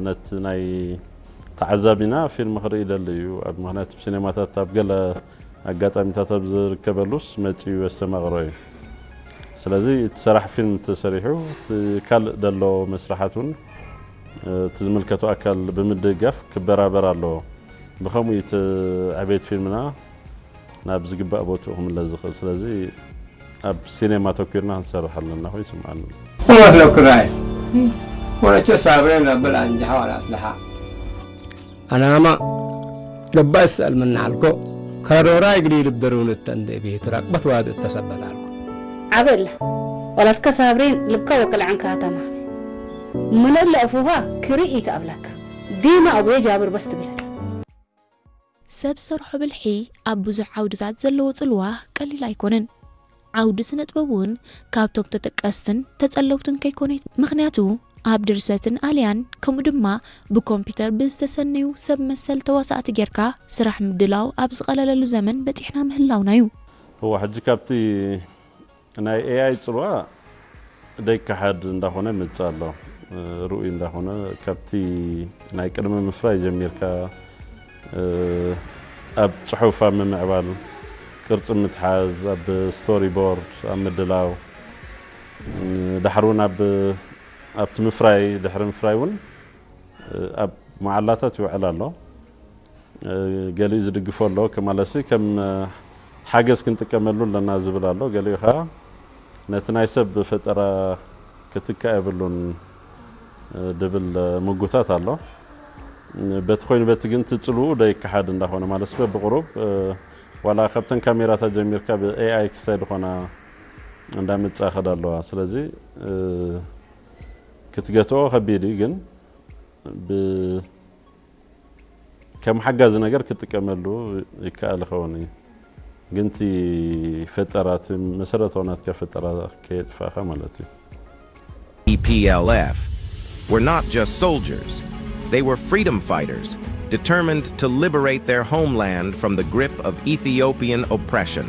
ነቲ ናይ ተዓዛቢና ፊልም ክርኢ ይደሊ እዩ። ኣብ ምኽንያት ኣብ ሲኔማታት ኣብ ገለ ኣጋጣሚታት ኣብ ዝርከበሉስ መጺኡ የስተማቕሮ እዩ። ስለዚ እቲ ሰራሕ ፊልም ተሰሪሑ፣ እቲ ካልእ ደሎ መስራሓት እውን እቲ ዝምልከቶ ኣካል ብምድጋፍ ክበራበር ኣለዎ። ብኸምኡ እዩ እቲ ዕቤት ፊልምና ናብ ዝግባእ ቦትኡ ክምለስ ዝኽእል። ስለዚ ኣብ ሲኔማ ተኲርና ክንሰርሕ ኣለና ኮይኑ ይስምዓኒ። Omas lo kurae. Ora cho sabre na bela anjaha wala aslaha. Anama lebas almanalko. Karora igri libderun tande bi trak batwad tasabatalko. ዓበላ ዋላትካ ሳብሬን ልብካ ወቅልዓን ካተማ ምነለ እፉኻ ክርኢ ይትኣብላካ ዲማ ኣቡየ ጃብር በስ ትብለካ። ሰብ ሰርሖ ብልሒ ኣብ ብዙሕ ዓውድታት ዘለዎ ጽልዋ ቀሊል ኣይኮነን። ዓውዲ ስነ ጥበብ እውን ካብቶም ተጠቀስትን ተጸለውትን ከይኮነ ምኽንያቱ ኣብ ድርሰትን ኣልያን ከምኡ ድማ ብኮምፒውተር ብዝተሰነዩ ሰብ መሰል ተዋሳእቲ ጌርካ ስራሕ ምድላው ኣብ ዝቐለለሉ ዘመን በጺሕና ምህላውና እዩ። እዋ ሕጂ ካብቲ ናይ ኤኣይ ጽልዋ ደይከሓድ እንዳኾነ ይመጽእ ኣሎ። ርኡይ እንዳኾነ ካብቲ ናይ ቅድሚ ምፍራይ ጀሚርካ ኣብ ጽሑፍ ኣብ ምምዕባል፣ ቅርጺ ምትሓዝ፣ ኣብ ስቶሪ ቦርድ ኣብ ምድላው፣ ዳሕሪ እውን ኣብ ኣብቲ ምፍራይ ድሕሪ ምፍራይ እውን ኣብ መዓላታት ይውዕል ኣሎ። ገሊኡ ዝድግፎ ኣሎ፣ ከማለሲ ከም ሓገዝ ክንጥቀመሉ ኣለና ዝብል ኣሎ። ገሊኡ ከዓ ነቲ ናይ ሰብ ፈጠራ ክትካእ የብሉን ድብል ምጉታት ኣሎ። በቲ ኮይኑ በቲ ግን ትጽልኡ ደይከሓድ እንዳኾነ ማለት በብቁሩብ ዋላ ካብተን ካሜራታት ጀሚርካ ብኤኣይ ክሳይ ዝኾና እንዳመጻ ከዳ ኣለዋ። ስለዚ ክትገትኦ ከቢድ እዩ፣ ግን ብ ከም ሓጋዚ ነገር ክትጥቀመሉ ይከኣል ይኸውን እዩ። ግን እቲ ፈጠራ እቲ መሰረታዊ ናትካ ፈጠራ ከየጥፋእካ ማለት እዩ። E P L F were not just soldiers. They were freedom fighters, determined to liberate their homeland from the grip of Ethiopian oppression.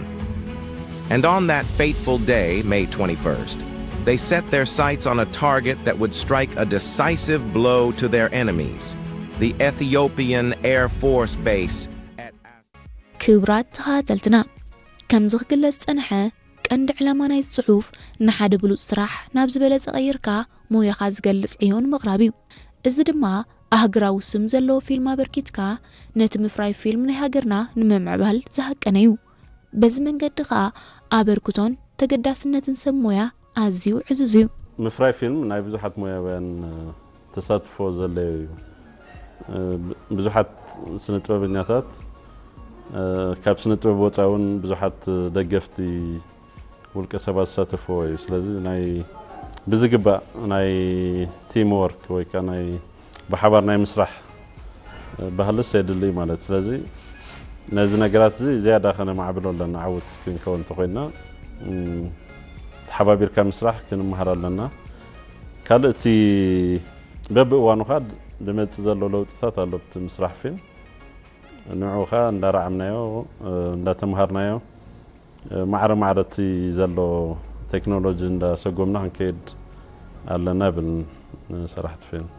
And on that fateful day, May twenty-first, they set their sights on a target that would strike a decisive blow to their enemies, the Ethiopian Air Force Base at ክቡራት ተኸታተልትና፣ ከምዚ ክግለጽ ዝጸንሐ ቀንዲ ዕላማ ናይዚ ጽሑፍ ንሓደ ብሉጽ ስራሕ ናብ ዝበለጸ ቀይርካ ሞያኻ ዝገልጽ ዕዮ ንምቕራብ እዩ። እዚ ድማ ኣህግራዊ ስም ዘለዎ ፊልም ኣበርኪትካ ነቲ ምፍራይ ፊልም ናይ ሃገርና ንምምዕባል ዝሃቀነ እዩ። በዚ መንገዲ ኸኣ ኣበርክቶን ተገዳስነትን ሰብ ሞያ ኣዝዩ ዕዙዝ እዩ። ምፍራይ ፊልም ናይ ብዙሓት ሞያውያን ተሳትፎ ዘድለዮ እዩ። ብዙሓት ስነ ጥበበኛታት ካብ ስነ ጥበብ ወፃኢ እውን ብዙሓት ደገፍቲ ውልቀ ሰባት ዝሳተፍዎ እዩ። ስለዚ ናይ ብዝግባእ ናይ ቲም ወርክ ወይ ከዓ ናይ ብሓባር ናይ ምስራሕ ባህልስ የድሊ እዩ ማለት። ስለዚ ነዚ ነገራት እዚ ዝያዳ ከነማዕብሎ ኣለና። ዓውት ክንከውን እንተኮይንና ተሓባቢርካ ምስራሕ ክንመሃር ኣለና። ካልእ እቲ በብእዋኑ ካ ድመፅእ ዘሎ ለውጥታት ኣሎ። እቲ ምስራሕ ፊልም ንዑ ካ እንዳረዓምናዮ እንዳተምሃርናዮ ማዕረ ማዕረ እቲ ዘሎ ቴክኖሎጂ እንዳሰጎምና ክንከይድ ኣለና ብል ሰራሕቲ ፊልም።